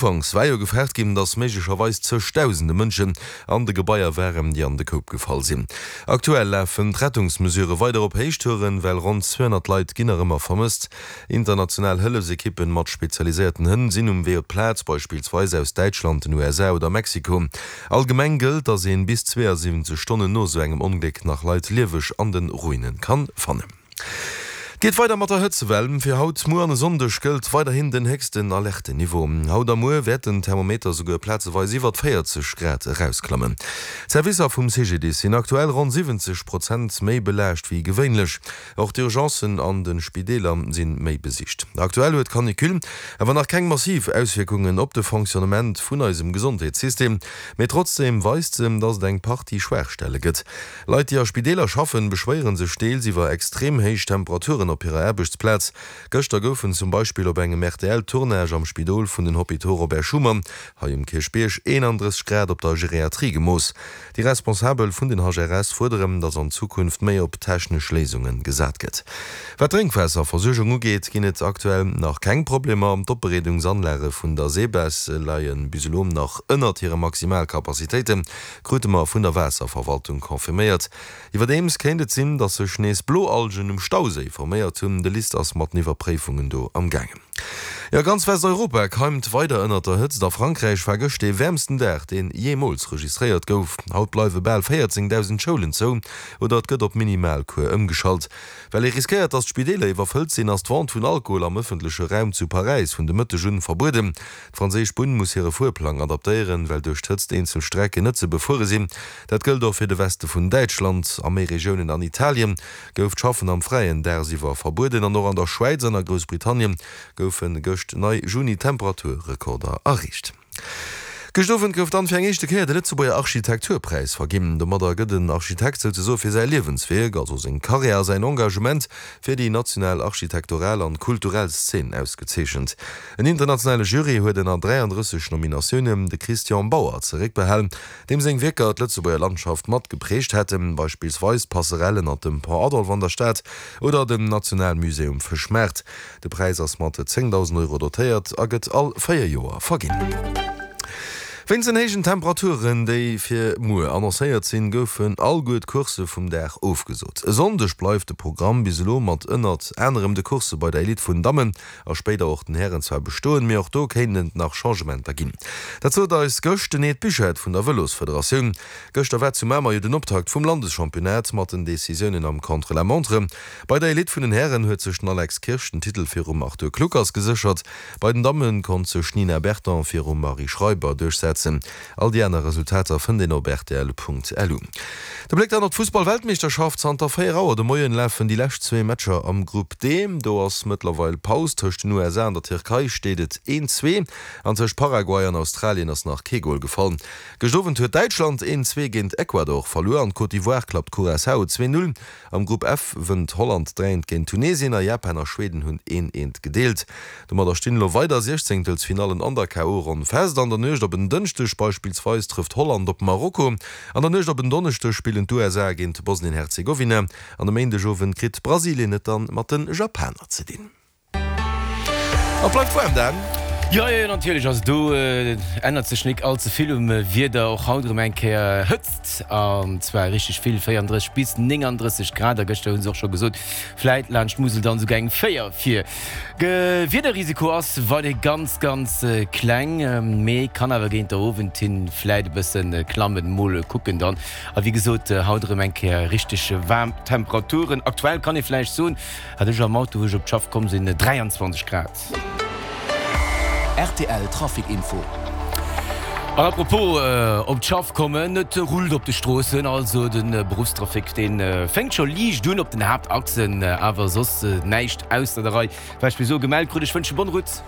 Ufanks war jo gefaart ginn, datt méiglecherweis zëchdausende Mënschen an de Gebaier waren, déi an de Koup gefall sinn. Aktuell lafen d'Rettungsmesurë weider op Héichtouren, well ronn 200 Leit ginn nach ëmmer vermësst. International Hëllefsekippen mat spezialiséierten Hënn sinn um Wee op d'Plaz, beispillsweis aus Däitschland, den USA oder Mexiko. Allgemeng gëllt, datt een bis 72 Stonnen no esou engem Ongléck nach Leit lieweg an de Ruine kann fannen. Et geet weider mat der Hëtzewell. Fir haut, muer an e Sonndeg gëllt weiderhin den héchsten Alerte-Niveau. Haut a muer wäert den Thermometer souguer plazeweis iwwert 40 Grad erausklammen. D'Servicer vum CGDIS sinn aktuell ronn 70 Prozent méi belaascht wéi gewéinlech. Och d'Urgencen an de Spideeler sinn méi besicht. Aktuell huet d'Canicule awer nach keng massiv Auswierkungen op de Fonctionnement vun eisem Gesondheetssystem, mee trotzdeem weist se, dass et eng Partie Schwaachstelle gëtt. Leit, déi a Spideeler schaffen, beschwéiere sech deels iwwer extrem héich Temperaturen op hirer Aarbechtsplaz. Gëschter goufen zum Beispill op engem RTL-Tournage am Spidol vun den Hôpitaux Robert Schuman hei um Kierchbierg 31 Grad op der Geriatrie gemooss. Déi Responsabel vun den HRS fuerderen, datt an Zukunft méi op technesch Léisunge gesat gëtt. Wat d'Drénkwaasserversuergung ugeet, ginn et aktuell nach keng Problemer. D'Opbereedungsanlage vun der SEBES leie bis elo nach ënnert hire Maximalcapacitéiten. Krute mer vun der Waasserverwaltung confirméiert. Iwwerdeems kéint et sinn, datt sech nees Bloalgen um Stauséi forméiert hunn. De LIST ass mat den Iwwerpréifungen do am gaangen. Jo, ganz Westeuropa keimt weider ënnert der Hëtzt. A Frankräich war gëscht dee wäermsten Dag, deen jeemools registréiert gouf. Haut bleiwe bal 14.000 Schoulen zou oder et gëtt op Minimalcours ëmgeschalt. Well ee riskéiert, datt d'Spideeler iwwerfëllt sinn, ass d'Vente vun Alkohol am ëffentleche Raum zu Paräis vun de Mëtteg un verbueden. D'franséisch Bunn muss hire Fuerplang adaptéieren, well duerch d'Hëtzt eenzel Strecken net ze befuere sinn. Dat gëllt och fir de Weste vun Däitschland. A méi Regiounen an Italien gouf d'Schaffen am Fräien dagsiwwer verbueden an och an der Schwäiz an a Groussbritannien goufe gëscht nei Juni-Temperaturrekorder erreecht. Gëscht Owend gouf dann fir eng éischte Kéier de Lëtzebuerger Architekturpräis verginn. Domadder gëtt en Architekt souzesoe fir säi Liewenswierk, also seng Karriär a säin Engagement fir déi national architektoral an kulturell Szen ausgezeechent. En internationale Jury huet ënner 33 Nominatiounen de Christian Bauer zeréckbehalen, deem seng Wierker d'Lëtzebuerger Landschaft mat geprägt hätten, beispillsweis d'Passerelle ënner dem Pont Adolphe an der Stad oder den Nationalmusée um Fëschmaart. De Präis ass mat 10.000 Euro dotéiert a gëtt all 4 Joer verginn. Wéinst den héijen Temperaturen, déi fir muer annoncéiert sinn, goufen alleguer d'Coursse vum Dag ofgesot. E Sonndeg bleift de Programm bis elo mat ënnert anerem de Coursse bei der Elite vun Dammen a spéider och den Hären zwar bestoen, mee och do kéinten et nach Changementer ginn. Dat sot eis gëscht den Ed Buchert vun der Vëlosfederatioun. Gëschter war zu Mamer jo den Optakt vum Landeschampionnat mat den Decisiounen am Contre-la-montre. Bei der Elite vun den Hären huet sech den Alex Kirsch den Titel virum Arthur Kluckers geséchert. Bei den Damme konnt sech d'Nina Berton virum Marie Schreiber duerchsetzen. All déi aner Resultater fënnt een op rtl.lu. De Bléck dann op d'Fussball-Weltmeeschterschaft, Zanter 4 Auer de Moien lafen déi lescht zwee Matcher am Grupp D. Do ass mëttlerweil Paus. Tëscht den USA an der Tierkei steet et 1, 2 an tëscht Paraguay an Australien ass nach kee Gol gefall. Gëscht Owend huet Däitschland 1, 2 géint Ecuador verluer an d'Côte d'Ivoire klappt Curaçao 2, 0. Am Grupp F wënnt Holland 3 eent géint Tunesien a Japan a Schweden hunn een eent gedeelt. Domadder stinn elo weider Siechzéngtelsfinallen an der KO-Ronn fest. An der Nuecht op en Dënschdeg beispillsweis trëfft Holland op Marokko. An der Nuecht op en Donneschdeg spillen d'USA géint Bosnien-Herzegowina an e Méindegowend kritt Brasilien et dann mat de Japaner ze dinn. Et bleift waarm, Dan. Jo, jo, natierlech. Also do ännert sech nik all ze vill um Wieder. Och haut erëm eng Kéier Hëtzt, an zwar richteg vill, 34 bis 39 Grad. A gëschter hu se och scho gesot, vläit laanscht d'Musel dann esouguer eng 4 vir. Wiederrisiko ass weiderhi ganz, ganz kleng, mee kann awer géint der Owend hin vläit e bësse klammen. Mol kucken dann. A wéi gesot, haut erëm eng Kéier richteg waarm Temperaturen. Aktuell kann ee vläicht soen, Hat ech am Auto wou ech op d'Schaff komm sinn 23 Grad. Rtl Trafic Info. An apropos op d'Schaff kommen, et rullt op de Stroossen, also de Beruffstrafic dee fänkt scho liicht un op den Haaptachsen, awer soss näischt ausser der Rei. Wat ech bis elo gemellt krut. Ech wënsche bonne route.